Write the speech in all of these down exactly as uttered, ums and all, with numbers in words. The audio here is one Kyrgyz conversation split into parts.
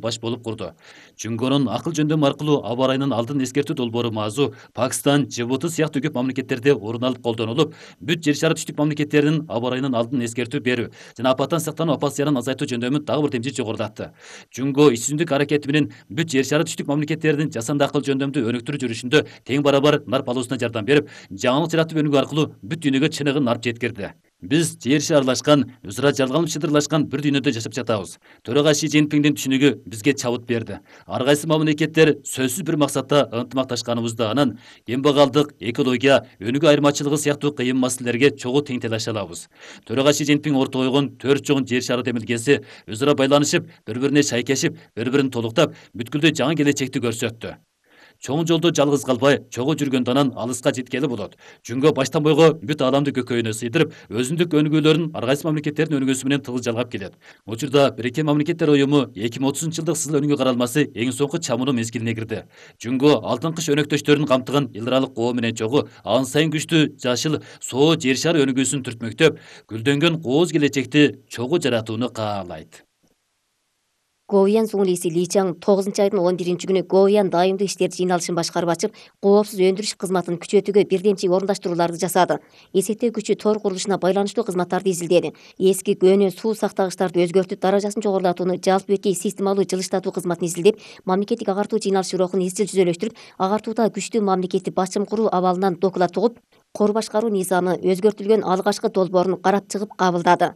баш болуп курду. Жөнгөнүн акыл жөндөмү аркылуу аба ырайынын алдын эскертүү долбоору маазу Пакистан, Жибути сыяктуу көп мамлекеттерде орун алып колдонулуп, бүт жер шары түштүк мамлекеттеринин аба ырайынын алдын эскертүү берүү жана апаттан сактануу апат зыянын азайтуу жөндөмү дагы бир темжит жогорулатты. Жөнгө иш-түзүмдүк аракети менен бүт жер шары түштүк мамлекеттеринин жасанды акыл жөндөмдү өнүктүрүү жүрүшүндө тең барабар нарп алуусуна жардам берип, жаңылык жаратып өнүгүү аркылуу бүт дүйнөгө чыныгын нарп жеткирди. Биз жер шары аралашкан, өз ара жалганып шыдырлашкан бир дүйнөдө жашап жатабыз. Төрага Ши Цзиньпиндин түшүнүгү бизге чабыт берди. Ар кайсы мамлекеттер сөзсүз бир максатта ынтымакташканыбызда анан кембагалдык, экология, өнүгүү айырмачылыгы сыяктуу кыйын маселелерге чогуу тең талаша алабыз. Төрага Ши Цзиньпин ортого койгон төрт чоң жер шары демилгеси өз ара байланышып, бири-бирине шайкешип, бири-бирин толуктап, бүткүлдүү жаңы келечекти көрсөттү. Чоң жолдо жалгыз калбай, чогуу жүргөндө анан алыска жеткели болот. Жөнгө баштан бойго бүт ааламды көкөйүнө сыйдырып, өзүндүк өнүгүүлөрүн ар кайсы мамлекеттердин өнүгүүсү менен тыгыз жалгап келет. Учурда Бириккен Мамлекеттер Уюму эки миң отузунчу жылдык сызыл өнүгүү каралмасы эң соңку чамынуу мезгилине кирди. Жөнгө алтын кыш өнөктөштөрүн камтыган эл аралык коо менен чогуу ан сайын күчтүү жашыл соо жер шары өнүгүүсүн түртмөктөп, гүлдөнгөн кооз келечекти чогуу жаратууну каалайт. Гоуян Зуңлиси Ли Чаң тогузунчу айдын он биринчи күнү Гоуян дайымдуу иштер жыйналышын башкарып ачып, коопсуз өндүрүш кызматын күчөтүүгө бирдемчи орундаштырууларды жасады. Эсептөө күчү тор курулушуна байланыштуу кызматтарды изилдеди. Эски көөнө суу сактагычтарды өзгөртүп, даражасын жогорулатууну, жалпы беткей системалуу жылыштатуу кызматын изилдеп, мамлекеттик агартуу жыйналышы рухун изчил жүзөлөштүрүп, агартууда күчтүү мамлекетти башчым куруу абалынан доклад угуп, кор башкаруу низамы өзгөртүлгөн алгачкы долбоорун карап чыгып кабылдады.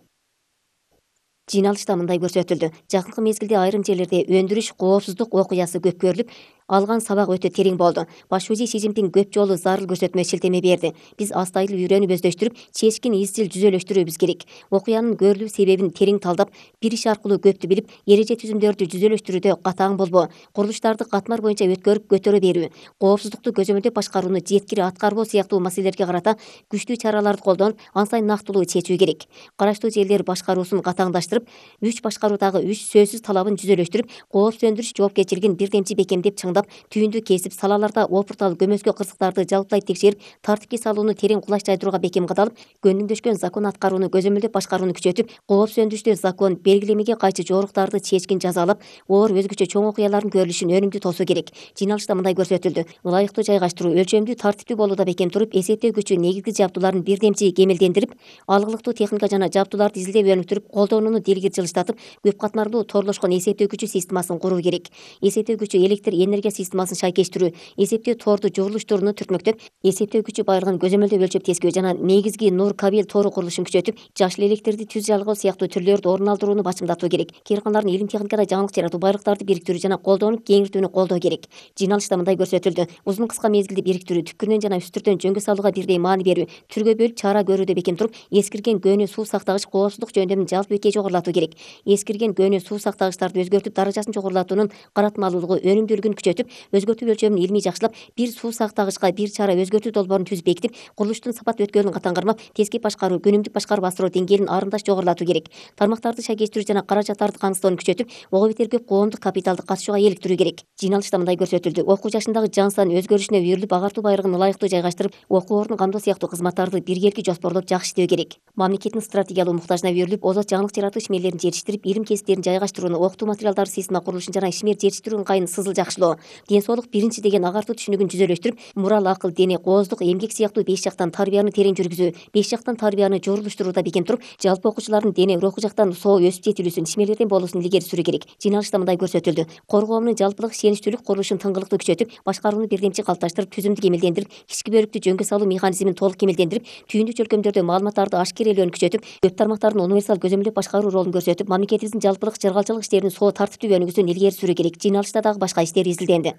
Жыйналышта мындай көрсөтүлдү. Жакынкы мезгилде айрым жерлерде өндүрүш коопсуздук окуясы көп көрүлүп, алган сабак өтө терең болду. Баш шүүжи Ши Цзиньпин көп жолу зарыл көрсөтмө шилтеме берди. Биз астайыл үйрөнүп өздөштүрүп, чечкин изчил жүзөлөштүрүүбүз керек. Окуянын көрүлүү себебин терең талдап, бир иш аркылуу көптү билип, эреже түзүмдөрдү жүзөлөштүрүүдө катаң болбоо, курулуштарды катмар боюнча өткөрүп көтөрө берүү, коопсуздукту көзөмөлдөп башкарууну жеткири аткарбоо сыяктуу маселелерге карата күчтүү чараларды колдонуп, ан сайын нактылуу чечүү керек. Караштуу жерлер башкаруусун катаңдаштырып, үч башкаруудагы үч сөзсүз талабын жүзөлөштүрүп, коопсуз өндүрүш жоопкерчилигин бирдемчи бекемдеп чыңдап, түйүндү кесип, салаларда опуртал көмөскө кырсыктарды жалпылай текшерип, тартипке салууну терең кулач жайдырууга бекем кадалып, көнүңдөшкөн закон аткарууну көзөмөлдөп башкарууну күчөтүп, коопсуз өндүрүштө закон белгилемеге кайчы жоруктарды чечкин жазалап, оор өзгөчө чоң окуялардын көрүлүшүн өнүмдүү тосуу керек. Жыйналышта мындай көрсөтүлдү. Ылайыктуу жайгаштыруу, өлчөмдүү, тартиптүү болууда бекем туруп, эсептөө күчү негизги жабдууларын бирдемчи кемелдендирип, алгылыктуу техника жана жабдууларды изилдеп өнүктүрүп, колдонууну дилгир жылыштатып, көп катмарлуу торлошкон эсептөө күчү системасын куруу керек. Эсептөө күчү электр энергия системасын шайкештирүү, эсептөө торду журулуштууну түртмөктөп, эсептөө күчү байлыгын көзөмөлдөп өлчөп тескөө жана негизги нур кабель тору курулушун күчөтүп, жашыл электрди түз жалгоо сыяктуу түрлөрдү орун алдырууну бачымдатуу керек. Кээрканалардын илим техникада жаңылык жаратуу, байлыктарды бириктирүү жана колдонуп кеңиртүүнү колдоо керек. Жыйналышта мындай көрсөтүлдү. Узун кыска мезгилди бириктирүү, түпкүрүнөн жана үстүртөн жөнгө салууга бирдей маани берүү, түргө бөлүп чара көрүүдө бекем туруп, эскирген көөнө суу сактагыч коопсуздук жөндөмүн жалпы беткей жогорулатуу керек. Эскирген көөнө суу сактагычтарды өзгөртүп, даражасын жогорулатуунун каратмалуулугу, өнүмдүүлүгүн күчөтүп, өзгөртүү өлчөмүн илмий жакшылап, бир суу сактагычка бир чара өзгөртүү долбоорун түзүп бекитип, курулуштун сапат өткөлүн катаң кармап, тескеп башкаруу, күнүмдүк башкарып асыроо деңгээлин арымдаш жогорулатуу керек. Тармактарды шайкештирүү жана каражаттарды камсыздоону күчөтүп, ого бетер көп коомдук капиталды катышууга иликтирүү керек. Жыйналышта мындай көрсөтүлдү. Окуу жашындагы жан сан өзгөрүшүнө үйрүлүп, агартуу байгылыгын ылайыктуу жайгаштырып, окуу ордун камдоо сыяктуу кызматтарды биргеликти жоспорлоп жакшы иштөө керек. Мамлекеттин стратегиялуу муктажына үйрүлүп, озат жаңылык жаратуу ишмерлерин жетиштирип, илим кесиптерин жайгаштырууну, окутуу материалдары система курулушун жана ишмер жетиштирүү ыңгайын сызыл жакшылоо, ден соолук биринчи деген агартуу түшүнүгүн жүзөлөштүрүп, мурал, акыл, дене, кооздук, эмгек сыяктуу беш жактан тарбияны терең жүргүзүү, беш жактан тарбияны журулуштурууда бекем туруп, жалпы окуучулардын дене, руху жактан соо өсүп жетилүүсүн, ишмерлерден болуусун илгери сүрүү керек. Жыйналышта мындай көрсөтүлдү. Кор коомунун жалпылык ишеничтүүлүк курулушун тыңгылыктуу күчөтүп, башкарууну бирдемчи калыпташтырып, түзүмдү кемелдендирип, ички бөлүктү жөнгө салуу механизмин толук кемелдендирип, түйүндү чөлкөмдөрдө маалыматтарды ашкерелөөнү күчөтүп, көп тармактардын универсал көзөмөлдөп башкаруу ролун көрсөтүп, мамлекетибиздин жалпылык жыргалчылык иштеринин соо тартиптүү өнүгүүсүн илгери сүрүү керек. Жыйналышта дагы башка иштер изилденди.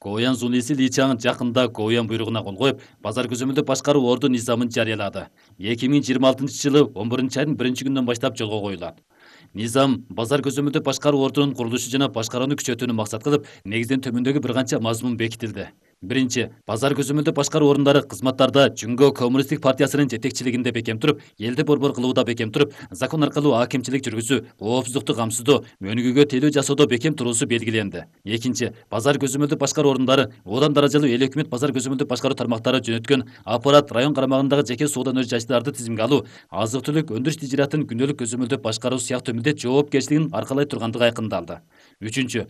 Гоуян Зуңлиси Ли Чаң жакында Гоуян буйругуна кол коюп, базар көзөмөлдөп башкаруу орду низамын жарыялады. эки миң жыйырма алтынчы жылы он биринчи айдын биринчи күнүнөн баштап жолго коюлат. Низам базар көзөмөлдөп башкаруу ордунун курулушу жана башкарууну күчөтүүнү максат кылып, негизинен төмөндөгү бир канча мазмун бекитилди. Биринчи, базар көзөмөлдөп башкаруу орундары кызматтарда Жөнгө Коммунисттик партиясынын жетекчилигинде бекем туруп, элди борбор кылууда бекем туруп, закон аркылуу акимчилик жүргүзүү, коопсуздукту камсыздоо, өнүгүүгө тейлөө жасоодо бекем туруусу белгиленди. Экинчи, базар көзөмөлдөп башкаруу орундары одан даражалуу эл өкмөт базар көзөмөлдөп башкаруу тармактары жөнөткөн аппарат район карамагындагы жеке соода өнөр-жайчыларды тизимге алуу, азык-түлүк өндүрүш тижиратын күндөлүк көзөмөлдөп башкаруу сыяктуу милдет жоопкерчилигин аркалай тургандыгы айкындалды. Үчүнчү,